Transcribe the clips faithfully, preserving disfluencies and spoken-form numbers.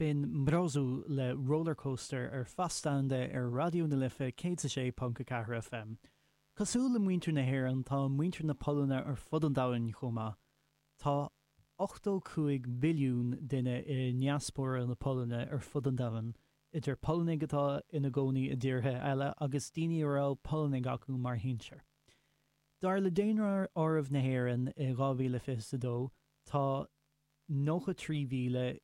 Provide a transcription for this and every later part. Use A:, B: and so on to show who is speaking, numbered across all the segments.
A: B'in Mrozu le Rollercoaster ar Fastanda ar Raidió na Life céad a sé ponc a ceathair FM. Cosúil le muintir na hÉireann tá muintir na Polainne ar fud an domhain chomh maith. Tá ochtó cúig billiún duine i ndiaspóra na Polainne ar fud an domhain, idir Polannaigh atá ina gcónaí i dtíortha eile agus daoine a raibh Polannaigh acu mar shinsir. Dar le Daonáireamh na hÉireann i dhá mhíle fiche a dó, tá nócha trí mhíle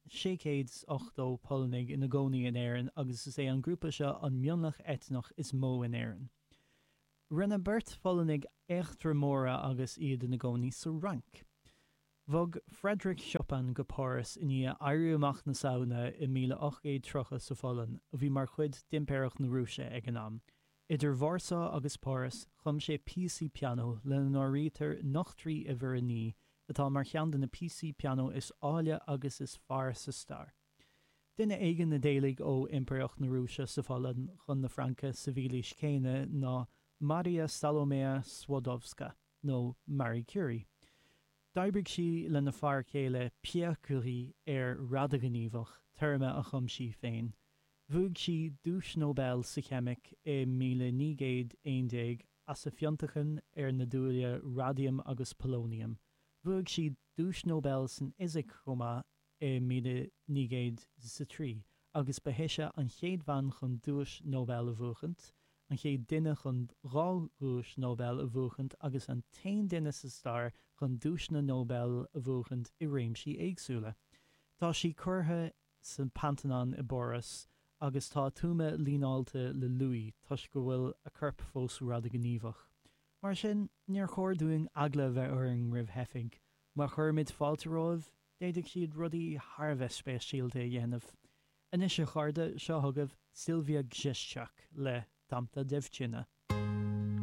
A: sé chéad is ochtó Polannaigh ina gcónaí in Éirinn agus is é an grúpa seo an mionlach eitneach is mó in Éirinn. Rinne beirt Pholannaigh eachtra móra agus iad ina gcónaí sa Fhrainc. Bhog Frédéric Chopin go Páras i ndiaidh Éirí Amach na Samhna i míle ocht gcéad tríocha sa Pholainn, a bhí mar chuid d'Impireacht na Rúise ag an am. Idir Vársá agus Páras, chum sé píosaí pianó, lena n-áirítear Nochtraí Uimhir a Naoi, atá mar cheann de na píosaí pianó is áille agus is fearr sa stair. Duine éigin a d'éalaigh ó Impireacht na Rúise sa Pholainn chun na Fraince sa mhílaois chéanna ná Maria Salomea Skłodowska, nó Marie Curie. D'oibrigh sí lena fear céile Pierre Curie ar radaighníomhach, téarma a chum sí féin. Bhuaigh sí Duais Nobel sa Cheimic i míle naoi gcéad aon déag as a fionnachtain ar na dúile raidiam agus polóiniam. Bhuaigh sí Duais Nobel san Fhisic chomh maith i míle naoi gcéad is a trí agus ba ise an chéad bhean chun Duais Nobel a bhuachaint, an chéad duine chun dhá dhuais Nobel a bhuachaint agus an t-aon duine sa stair chun duaiseanna Nobel a bhuachaint i réimsí éagsúla. Tá sí curtha sa Pantheon i bPáras agus tá a tuama líneáilte le luaith toisc go bhfuil a corp fós radaighníomhach. Mar sin, níor chóir dúinn eagla a bheith orainn roimh theifigh. Má chuirimid fáilte romhaibh, d'fhéadfadh siad rudaí thar a bheith speisialta a dhéanamh. Anois a chairde, seo chugaibh Sylwia Grzeszczak le Tamta Dziewczyna.